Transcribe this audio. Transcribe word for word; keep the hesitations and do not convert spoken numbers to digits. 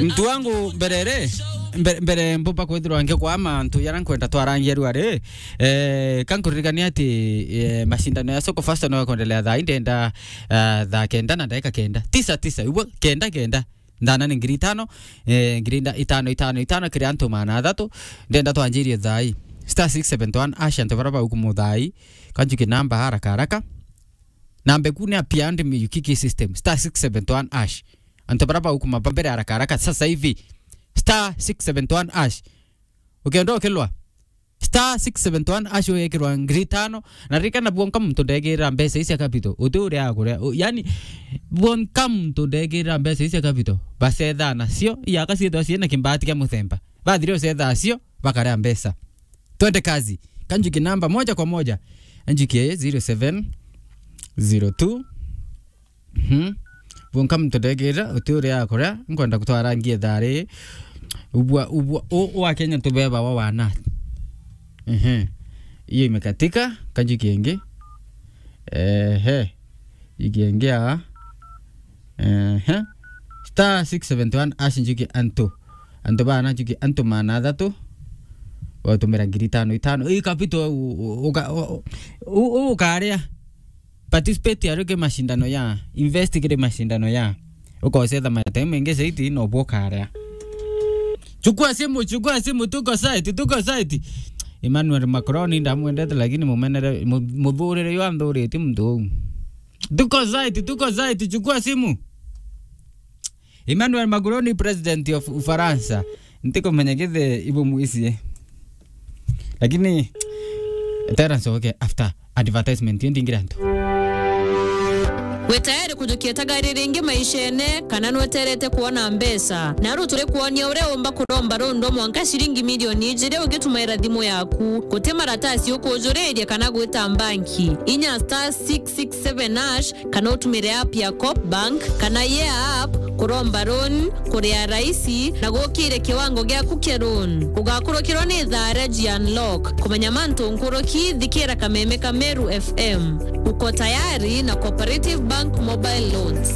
Mtu wangu, mbere ri, mbe-, mbere mbumba kwithirwa ngikwaa mantu jaria nkwenda twarangia riu ari, eh, ka nkuririkania ati, eh, mashindano ya Soko Fasta no yakwendelea thaa ii, ndenda, eh, thaa kenda na ndagika kenda. Tisa, tisa, igua, kenda, kenda. Ndana ni ngiri itano, eh, ngiri nda-, itano, itano, itano, kiri antu maana athatu. Ndenda twanjirie thaa ii. Star six seven one hash, antu baria baukumuthaa ii. Kanjuki namba haraka haraka. Namba eku ni apia ndi miyukiki system. Star six seven one hash. Antu baria baukuma ba mbere haraka haraka sasa hivi. Star six seven one hash. Ukienda ukilwa. Star six seven one hash ugekirwa ngiri itano. Na ririkana bwonka muntu ndegirira mbeca ici cia capital. Uti uria akuria. U-, yani, bwonka muntu ndegirira mbeca ici cia capital. Bacetha nacio, iaka ciithwa ciina kimbati kia muthemba. Bathire ucetha cio, bakaria mbeca. Twende kazi. Kanjuki namba moja kwa moja. Anjuki zero seven zero two. Mhm. Bwonka muntu ndegirira, uti uria akuria, nkwenda kutwarangia thaa ri. Ubua, ubua, u, u wa Kenya tubeba wa wana. Ehe. Hiyo imekatika, kanjuki ingi. Ehe. Juki ingi aa. Ehe. Star six seven one hash njuki antu. Antu bana njuki antu maana athatu. Watumira ngiri itano itano. Ii capital u-, u-, uka-, u-, u-, u-, ukaria. Participate ari ki mashindano ya. Invest kiri mashindano ya. Ukocetha mataimu maingi zaidi, no bwo ukaria. Chukua simu, chukua simu, tuko site, tuko site. Emmanuel Macron ndamwendete, lakini mumenere, mu-, muthurire yo anthurite muntu uu. Tuko site, tuko site, chukua simu. Emmanuel Macron, president of Ufaransa. Ntikumenya githe ibu mwisi. Lakini, Terence, okay, after advertisement, yo ndingira nto. Wi tayari kujukia tagari ringi maishene, kana nweterete kuona mbeca? Naru turi kuonia uria umba kuromba rundo mwanka ciringi milioni ijiri ugitumaira thimu yaku. Guti maratasi ukujuriria kana gwita mbanki. Inya star six six seven hash kana utumire app ya Coop Bank kana Yeah App kuromba loan, kuria raisi na gukire kiwango giaku kia loan. Ugakurukirwa ni ithaa ria G Unlock. Kumenya mantu nkuruki, thikira kameme ka Meru F M. Uko tayari na Cooperative Bank Mobile Loans.